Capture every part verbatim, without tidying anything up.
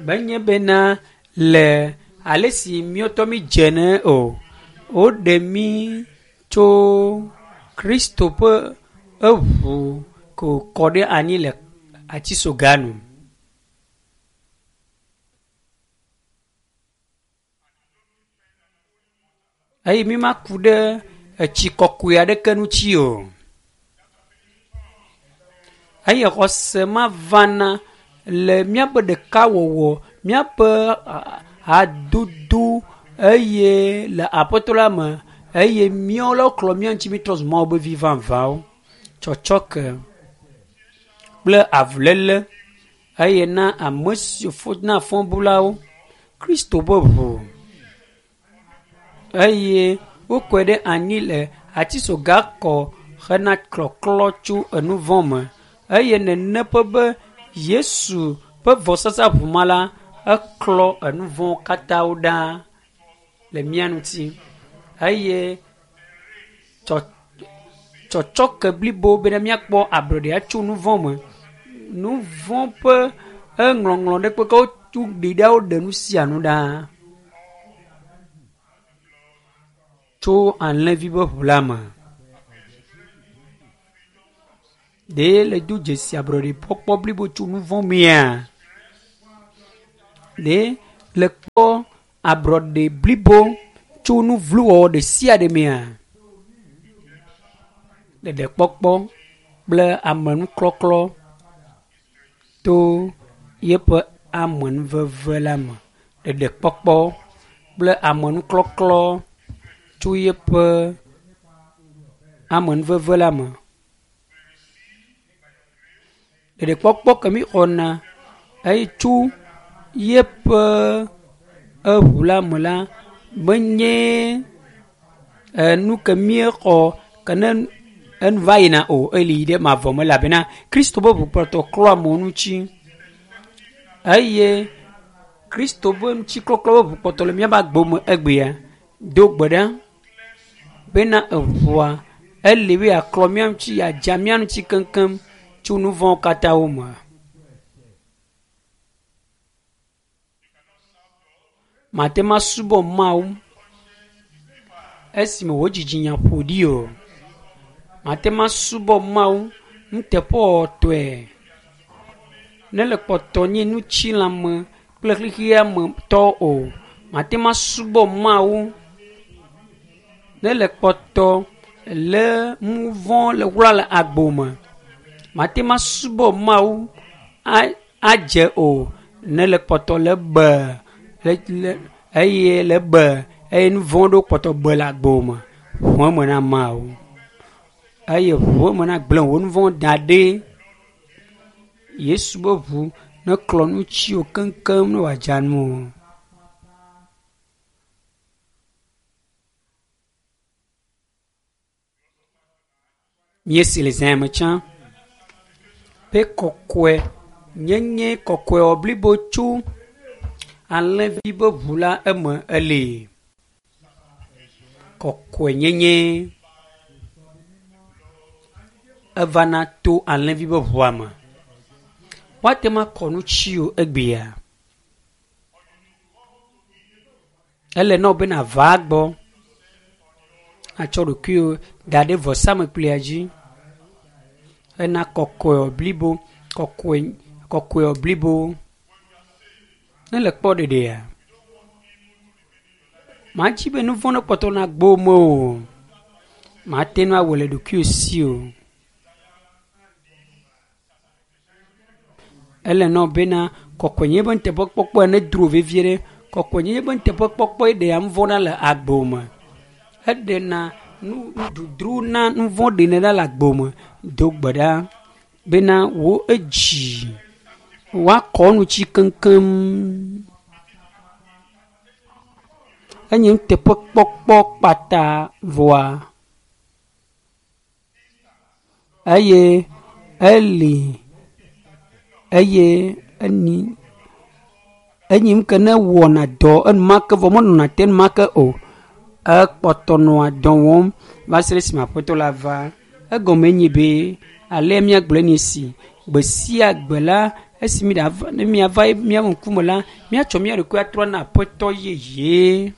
Menye bena le ale si míɔtɔ mi dze ne o. Woɖe mí tso Kristo ƒe eʋu ko kɔ ɖe anyi le atisoga nu. Eye mi ma ku ɖe etsi kɔkɔe aɖeke ŋuti o. Eye xɔse ma vana le míaƒe ɖekawɔwɔ, míaƒe hadodo eye le aƒetɔ la me eye míawo le woklɔ mía ŋuti mítrɔ zu Mawu be vi vavãwo. Tsɔtsɔke kple avuléle eye na ame siwo fo na fɔbulawo Kristo ƒe ʋu eye wokɔe ɖe anyi le atisoga kɔ hena klɔklɔ tso enuvɔ̃ me eye nene ƒe be Yesu ƒe vɔsasa ʋu ma la eklɔ enuvɔ̃wo katãwo ɖa le mía ŋuti eye tsɔ tsɔtsɔke blibo bena míakpɔ ablɔɖe atso nuvɔ̃ me. Nuvɔ̃ ƒe eŋlɔŋlɔ ɖe kpekpe wotu ɖi ɖa woɖe nu sia nu ɖa tso alẽvi ƒe ʋu la me. Ɖe le do dzesi ablɔɖekpɔkpɔ blibo tso nuvɔ̃ mea? Ɖe le kpɔ ablɔɖe blibo tso nu vlo wɔwɔ ɖe sia ɖe mea? Ɖeɖekpɔkpɔ kple amenuklɔklɔ to yeƒe amenuveve la me. Ɖeɖekpɔkpɔ kple amenuklɔklɔ tso yeƒe amenuveve la me. Ɖeɖekpɔkpɔ ke mi xɔna eye tso yeƒe eʋu la me la menye enu ke míexɔ ke ne enu va yina o eli yi ɖe mavɔ me elabena Kristo ƒe ʋu kpɔtɔ klɔ amewo ŋuti eye Kristo ƒe ŋutiklɔklɔ ƒe ʋu kpɔtɔ le míaƒe agbe me egbea. Do gbe ɖa bena eʋua eli be yeaklɔ mía ŋuti yeadza mía ŋuti keŋkeŋ tso nu vɔ̃wo katã wo me. Mate ŋu asubɔ Mawu esime wò dzidzinya ƒo ɖi o. Mate ŋu asubɔ Mawu nuteƒewɔwɔtɔe ne le kpɔtɔ nye ŋutilãme kple xexea me tɔ o. Mate ŋu asubɔ Mawu ne le kpɔtɔ le nu vɔ̃ le wla le agbo me. Mate ŋu asubɔ Mawu adze o ne le kpɔtɔ le be le le eye le be eye nu vɔ̃ ɖewo kpɔtɔ be le agbo me. Ʋu eme na Mawu eye ʋu eme na gblẽ wò nu vɔ̃ da ɖi. Yesu ƒe ʋu neklɔ ŋutiwò keŋkeŋ ne wòadza nuwò. Míesi le zã me tsã be kɔkɔe nyenye kɔkɔewɔ blibo tso alẽvi ƒe ʋu la eme eli. Kɔkɔenyenye evana to alẽvi ƒe ʋua me. Woate ŋu akɔ ŋutiwò egbea. Ele na wò be nàva egbɔ atsɔ ɖokuiwò da ɖe vɔsamlekpuia dzi hena kɔkɔewɔ blibo kɔkɔe kɔkɔewɔ blibo. Ne le kpɔ ɖeɖea, madzi be nu vɔ̃ nekpɔtɔ na agbo me o. Mate ŋu awɔe le ɖokuiwò si o. Ele na wò bena kɔkɔenyenye ƒe nuteƒekpɔkpɔ nedro vevie ɖe. Kɔkɔenyenye ƒe nuteƒekpɔkpɔ ɖea nu vɔ̃ ɖa le agbo me. Eɖena nu nududru na nu vɔ̃ ɖenɛ ɖa le agbo me. Do gbe ɖa bena wò edzi woakɔ ŋuti keŋkeŋ. Enye nuteƒekpɔkpɔ kpata vɔa eye eli eye eni enyi nu ke ne wɔna dɔ enumake vɔ menɔna te enumake o. Ekpɔtɔ nɔa dɔ wɔm va se ɖe esime aƒetɔ la va. Egɔme nye be alea míagblɔe nye esi gbe sia gbe la Esi mi ɖava ne miava míaƒe ŋkume la, míatsɔ mía ɖokui atrɔ na aƒetɔ yeye.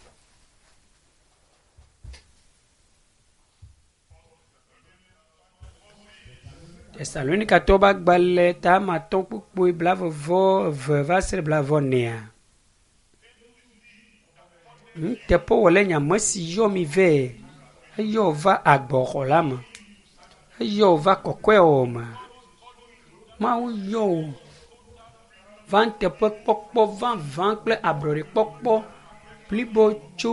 Tesalonikatɔwo ƒe agbalẽ ta ame atɔ̃ kpukpui blaeve vɔ eve va se ɖe blaeve enea. Nuteƒewɔlae nye ame si yɔ mi vɛ. Eyɔ va agbɔxɔ la me. Eyɔ va kɔkɔewɔwɔ me. Mawu yɔ wò va nuteƒekpɔkpɔ vavã kple ablɔɖekpɔkpɔ blibo tso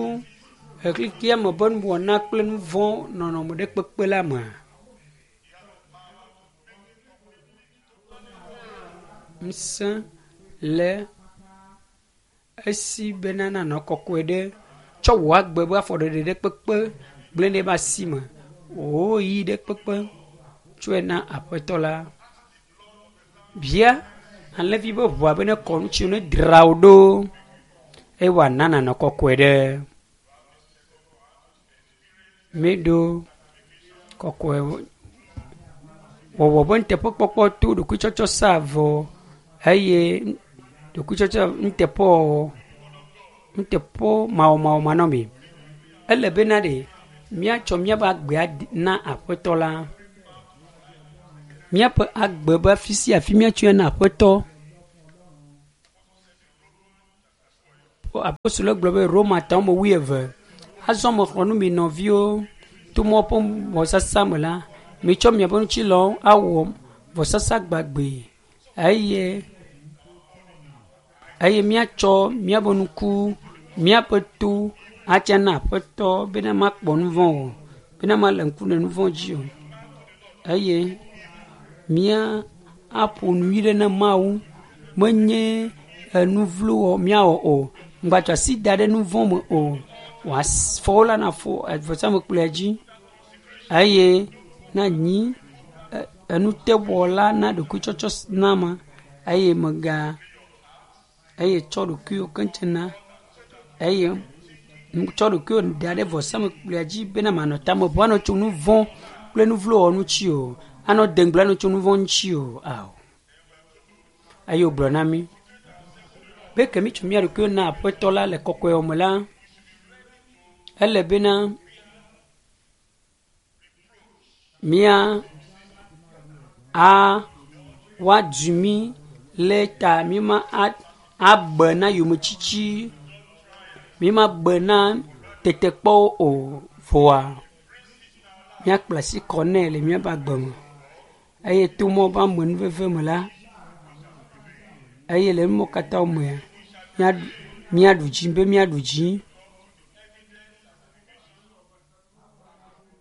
xexea me ƒe nuwɔna kple nu vɔ̃ nɔnɔme ɖe kpekpe la me. Ŋusẽ le esi bena nanɔ kɔkɔe ɖe tsɔ wò agbe ƒe afɔɖeɖe ɖe kpekpe gblẽ ɖe eƒe asi me. Wò ɣeyiɣi ɖe kpekpe tsɔe na aƒetɔ la. Bia alẽvi ƒe ʋua be nekɔ ŋuti ne dzra wò ɖo eye wòana nànɔ kɔkɔe ɖe. Míɖo kɔkɔe wɔwɔ ƒe nuteƒekpɔkpɔ to ɖokuitsɔtsɔ sa vɔ eye ɖokuitsɔtsɔ nuteƒewɔwɔ nuteƒe mawɔmawɔ manɔmee. Ele bena ɖe míatsɔ míaƒe agbea na aƒetɔ la. Míaƒe agbe be afi sia afi míatsɔe na aƒetɔ. Apostolo gblɔ be Romatɔwo ame wuieve. Azɔ mexlɔ̃ nu mi nɔviwo to Mawu ƒe vɔsasa me la, mitsɔ miaƒe ŋutilãwo awɔ vɔsasa gbagbe eye eye míatsɔ míaƒe ŋku, míaƒe to atsa na aƒetɔ bena makpɔ nu vɔ̃ o, bena male ŋku ɖe nu vɔ̃ dzi o. Eye mía aƒo nu nyui ɖe na Mawu menye enu vlo wɔ míawɔ o. Ŋgbatsɔ asi da ɖe nu vɔ̃ me o. Wòafɔwo la nafɔ vɔsamlekpuia dzi eye nanyi enutewɔla na ɖokuitsɔtsɔ na ame eye mega eye tsɔ ɖokuiwò keŋ na eye tsɔ ɖokuiwò da ɖe vɔsamlekpuia dzi bena manɔ tame ʋu anɔ tso nu vɔ̃ kple nu vlo wɔwɔ ŋuti o. Anɔ dengble anɔ tso nu vɔ̃ ŋuti o. Ao. Eye wògblɔ na mí be ke mítsɔ mía ɖokuiwo na aƒetɔ la le kɔkɔewɔ me la, ele bena mía a woadzu mí le ta mí ma abe na yometsitsi, mí ma be na tetekpɔwo o. Vɔa míakpla asi kɔ nɛ le míaƒe agbe me eye to Mawu ƒe amenuveve me la, eye le numɔwo katã mea, míaɖu dzi be míaɖu dzi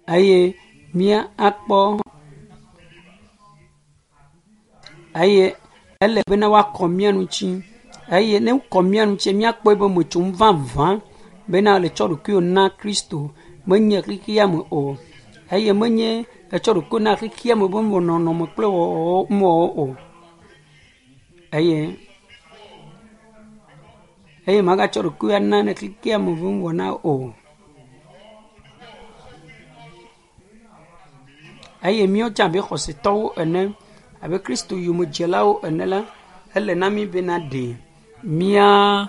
eye mía akpɔ eye ele bena woakɔ mía ŋuti eye ne wokɔ mía ŋuti míakpɔe be metsom vavã bena le tsɔ ɖokuiwò na Kristo menye xexea me o eye menye etsɔ ɖokuiwò na xexea me be nɔnɔme kple wɔwɔwo o eye eye magatsɔ ɖokuiwò ana ne xexea me ƒe nuwɔna o. Eye míawo tsã abe xɔsetɔwo ene abe Kristo yomedzelawo ene la, ele na mí bena ɖe mía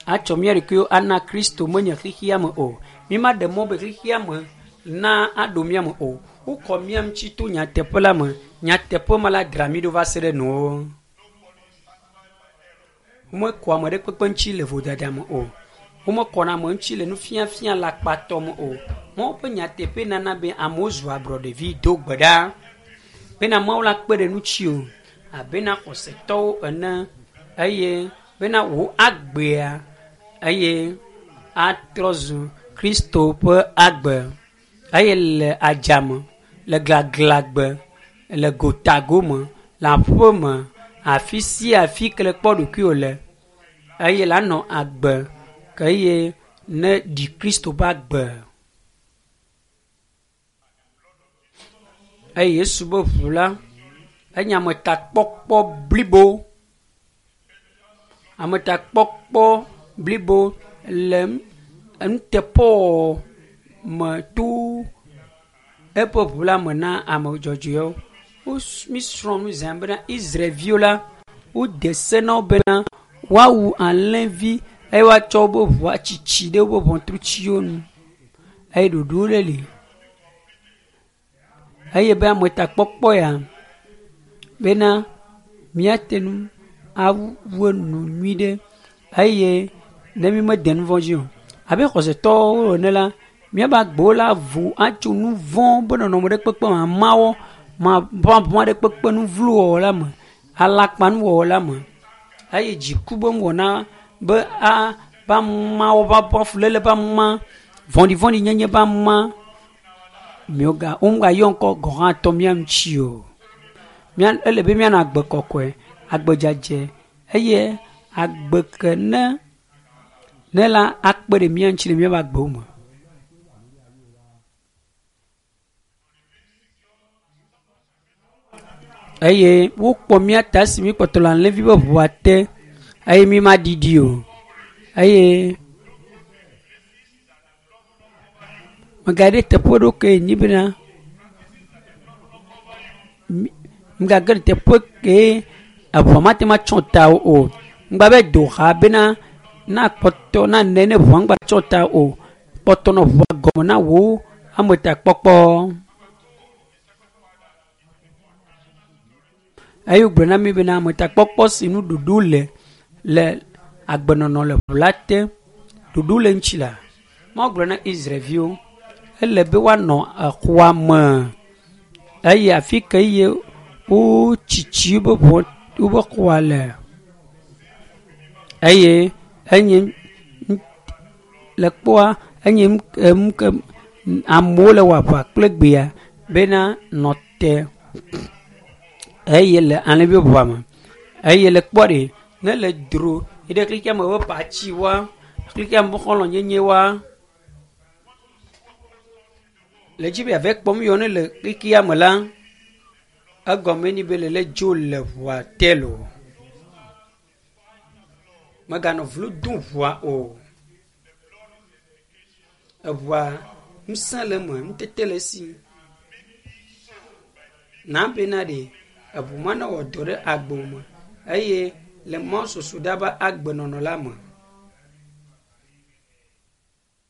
atsɔ mía ɖokuiwo ana Kristo menye xexea me o. Mí ma ɖe mɔ be xexea me na aɖo mía me o. Wokɔ mía ŋuti to nyateƒe la me. Nyateƒe ma la dzra mí ɖo va se ɖe nuwo. Womekɔ ame ɖe kpekpe ŋuti le vodada me o. Womekɔna ame ŋuti le nufiafia le akpatɔ me o. Mawu ƒe nyateƒe nana be amewo zu ablɔɖevi do gbe ɖa bena Mawu la kpe ɖe ŋuti o abe na xɔsetɔwo ene eye bena wò agbea eye atrɔ zu Kristo ƒe agbe eye le adzame, le gaglãgbe, le gotagome, le aƒe me, afi sia afi ke le kpɔ ɖokuiwò le eye la nɔ agbe ke eye ne ɖi Kristo ƒe agbe. Eye Yesu ƒe ʋu la enye ametakpɔkpɔ blibo. Ametakpɔkpɔ blibo le nuteƒewɔwɔ me to eƒe ʋu la me na ame dzɔdzɔewo. Mi srɔ̃ nu zã bena Israelviwo la wode se na wo bena woawu alẽvi eye woatsɔ woƒe ʋu atsitsi ɖe woƒe ʋɔtrutiwo nu eye ɖoɖo ɖe li eye be ametakpɔkpɔ ya bena míate ŋu awu enu nyui ɖe eye ne mi mede nu vɔ̃ dzi o abe xɔsetɔwo ene la míaƒe agbewo la vo atso nu vɔ̃ be nɔnɔme ɖe kpekpe me amawo maʋaʋã ɖe kpekpe nu vlo wɔwɔ la me alakpanuwɔwɔ la me eye dziku be nuwɔna be a be amawo ƒe fuléle be ama vɔ̃ɖivɔ̃ɖi nyenye be ama miwo ga womegayɔ ŋkɔ gɔ̃ hã tɔ mía ŋuti o. Mía ele be míanɔ agbe kɔkɔe, agbe dzadzɛ eye agbe ke ne ne la akpe ɖe mía ŋuti le míaƒe agbewo me. Eye wokpɔ mía ta esi míkpɔtɔ le alẽvi ƒe ʋua te eye mí ma ɖiɖi o. Eye megaɖe teƒe ɖo ke nyi bena megage ɖe teƒe ke eʋua mate ŋu atsɔ ta o. Ŋgba be do xa bena na kpɔtɔ na ne ne ʋua ŋgba tsɔ ta o. Kpɔtɔ nɔ ʋua gɔme na wò ametakpɔkpɔ. Eye wogblɔ na mí bena ametakpɔkpɔ si nuɖuɖu le le agbenɔnɔ le ʋu la te ɖuɖu le ŋuti la. Mawu gblɔ na Israelviwo ele be woanɔ exɔa me eye afi ke ye wotsitsi woƒe ʋɔ woƒe xɔa le eye enye le kpɔa enye nu ke amewo le wɔ aʋa kple gbea bena nɔ te eye le alẽvi ʋua me eye le kpɔ ɖe ne le dro yi ɖe xexea me ƒe patsi wa xexea me ƒe xɔlɔ̃nyenye wa le dzi be yeava kpɔm yɔ ne le xexea me la egɔme ni be le lé dzo le ʋua te loo. Meganɔ vlo dom ʋua o. Eʋua ŋusẽ le eme, nutete le esi. Na bena ɖe eʋu ma ne wɔ dɔ ɖe agbo me eye le mɔsoso ɖa be agbenɔnɔ la me.